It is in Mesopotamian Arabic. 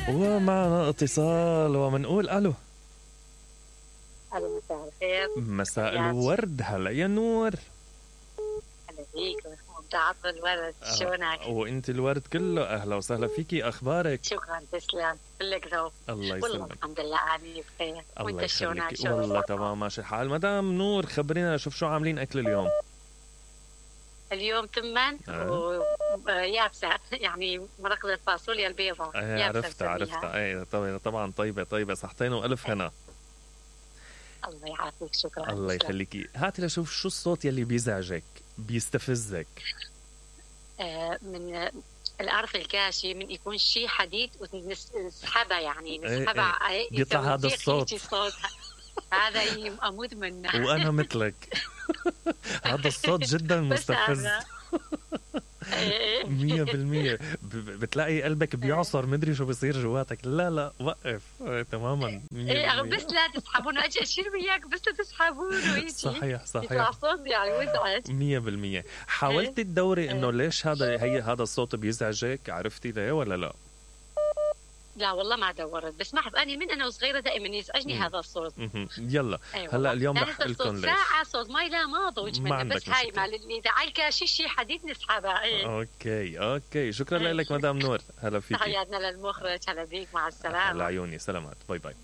ومعنا اتصال ومنقول الو. الو مساء الخير. مساء الورد. هلا يا نور. هلا فيك متعطر الورد. شلونك؟ وانت الورد كله. اهلا وسهلا فيكي. اخبارك؟ شكرا تسلم. كلك ذوق. الله والله يسلمك. الحمد لله اني بخير. الله وانت شلونك؟ يخليك. والله تمام ماشي الحال. مدام نور خبرينا شوف شو عاملين اكل اليوم. اليوم تمن ويابسه يعني مرق الفاصوليا البيضاء. عرفتها. طبعا طيبه صحتين والف هنا. الله يعافيك. شكرا. الله يخليكي. هاتي لشوف شو الصوت يلي بيزعجك بيستفزك. من الأرض الكاشي من يكون شيء حديد ونسحبها يعني نسحبها بيطلع هذا الصوت. هذا أموت منه. وأنا مثلك. هذا الصوت جدا مستفز. 100%. بتلاقي قلبك بيعصر مدري شو بيصير جواتك. لا وقف تماما. بس لا تسحبون. اجي اشيل وياك بس لا تسحبون ويجي. صحيح يطلع صوت يعني مزعج. 100%. حاولتي تدوري انه ليش هذا الصوت بيزعجك؟ عرفتي ليه ولا لا؟ لا والله ما دورت بس ما احب اني من انا وصغيره دائما يزعجني هذا الصوت. يلا هلا اليوم رح اقول لكم ليش. ساعه صوت ماي لا ما ضوج منه بس هاي مال اللي دعايك شيء حديد نسحبها. اوكي شكرا لك مدام نور. هلا فيك. تحياتنا للمخرج. هلا بيك. مع السلامه. على عيوني. سلامات. باي باي.